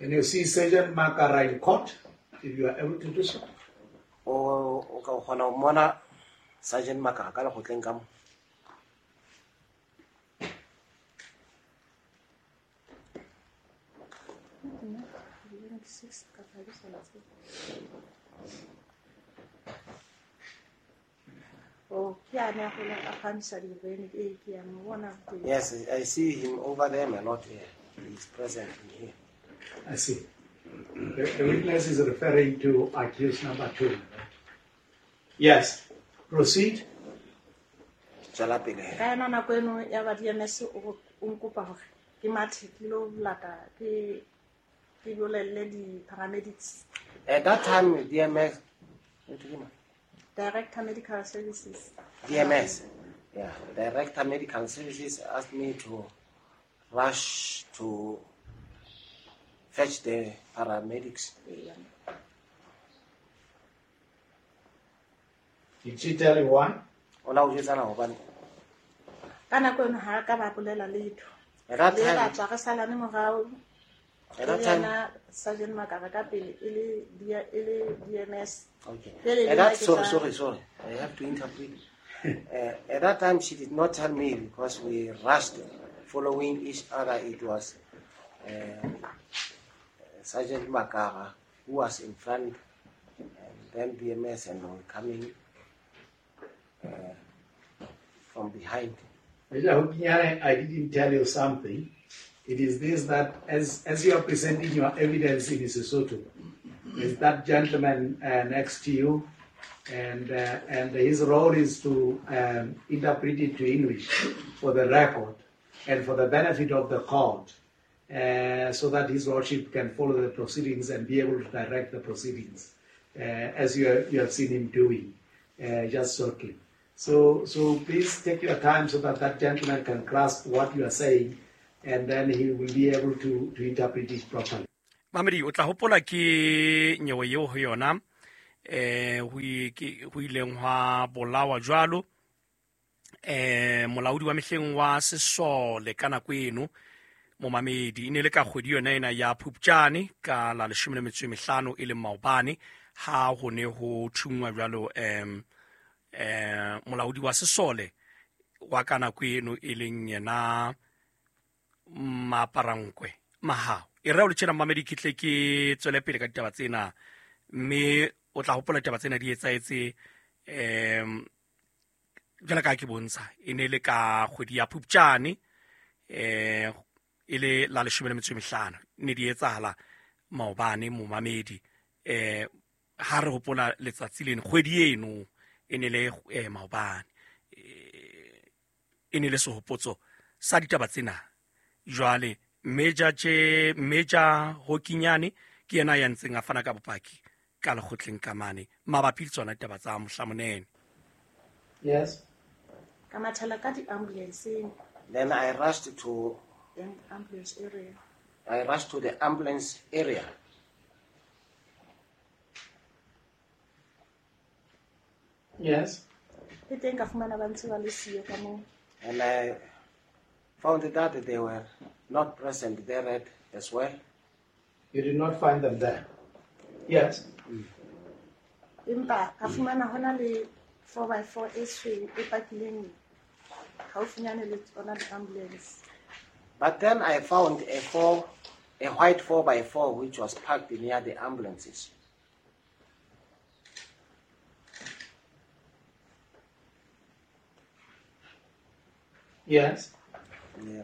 Can you see Sergeant Makara in court, if you are able to do so? O ka kgona ho mmona Sergeant Makara ka lekgotleng ka mo? Oh, ke a ne a gola a phamisa dibene ee ke a mo bona teng. Yes, I see him over there, my lord. Yeah. He is present in here. I see. The witness is referring to accused number 2. Yes. Proceed. Tswela pele he. Ka yona nako eno ya ba DMS o nkopa hore ke mathe ke lo lata ke bolelle di-paramedics. At that time, DMS, Director Medical Services. DMS, yeah. Director Medical Services asked me to rush to fetch the paramedics. Yeah. Did she tell you why? Ola o jwetsa na hobane? Ka nako eno ha ka ba bolela letho. At that Le time, ba tswa re salane morao. At that time, Yena Sergeant Makara ka pele e le DMS. Okay. Pele At le that, nna ke sorry, tla- sorry, sorry. I have to interpret. At that time, she did not tell me because we rushed following each other. It was Sergeant Makara who was in front, and then BMS, and we were coming from behind. Major Hokinyane, I didn't tell you something. It is this that as you are presenting your evidence in Sesotho, is that gentleman next to you, and his role is to interpret it to English for the record and for the benefit of the court, so that his lordship can follow the proceedings and be able to direct the proceedings, as you have seen him doing just shortly. So please take your time so that that gentleman can grasp what you are saying, and then he will be able to interpret it properly. Mamedi, o tla hopola ke nyewe eo ho yona, ho ileng hwa bolawa jwalo, molaodi wa mehleng wa sesole ka nako eno, momamedi, e ne le ka kgwedi yona ena ya Phupjane ka la 15 e leng maobane, ha ho ne ho thungwa jwalo, molaodi wa sesole wa ka nako eno e leng yena Maparankwe Mahao. E re o le tjena mamedi, ke tle ke tswele pele ka ditaba tsena, mme o tla hopola ditaba tsena di etsahetse, jwalo ka ke bontsha, e ne le ka kgwedi ya Phupjane, e le la 15, ne di etsahala maobane momamedi. Ha re hopola letsatsi leno, kgwedi eno e ne le maobane, e ne le sehopotso sa ditaba tsena. Jwale Major Hokinyane ke yena ya ntseng a fana ka bopaki ka lekgotleng ka mane mabapi le tsona ditaba tsa mohlamonene. Yes. Ka mathela ka di-ambulance. Then I rushed to the ambulance area. I rushed to the ambulance area. Yes. Le teng ka fumana ba ntse ba le siyo ka moo. And I found that they were not present there as well. You did not find them there? Yes. Empa ka fumana hona le four by four e tshweu e pakileng haufinyane le tsona di-ambulance. But then I found a white four by four which was parked near the ambulances. Yes. Yeah.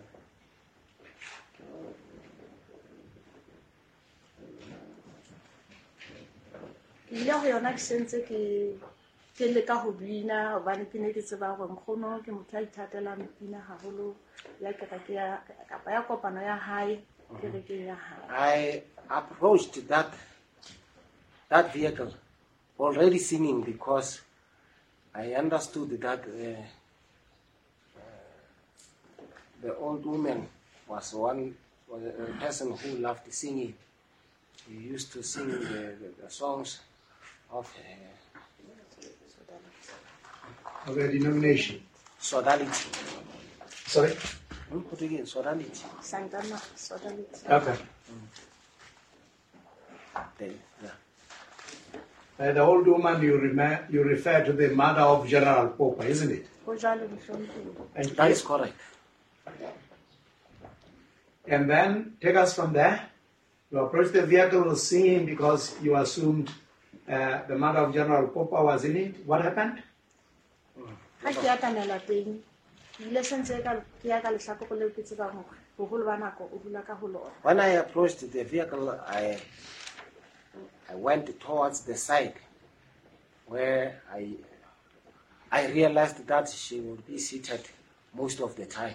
Ke ile ho yona ke sentse ke leka ho bina hobane ke ne ke tseba hore nkgono ke motho a ithatelang pina haholo ya kereke ya kapa ya kopano ya hae kerekeng ya hae. I approached that vehicle already singing because I understood that the old woman was a person who loved singing. He used to sing the songs of of a denomination. Sodality. Sorry? Put again, Sodality. Santana, Sodality. Okay. Then, yeah. The old woman you refer to the mother of General Popa, isn't it? Ho jwalo mohlomphehi. Thank That you. is correct. And then take us from there. You approached the vehicle singing because you assumed the mother of General Popa was in it. What happened? Ha ke atamela teng, ke ile sentse ka ke ya ka lehlakore leo ke tsebang hore boholo ba nako o dula ka ho lona. When I approached the vehicle, I went towards the side where I realized that she would be seated most of the time.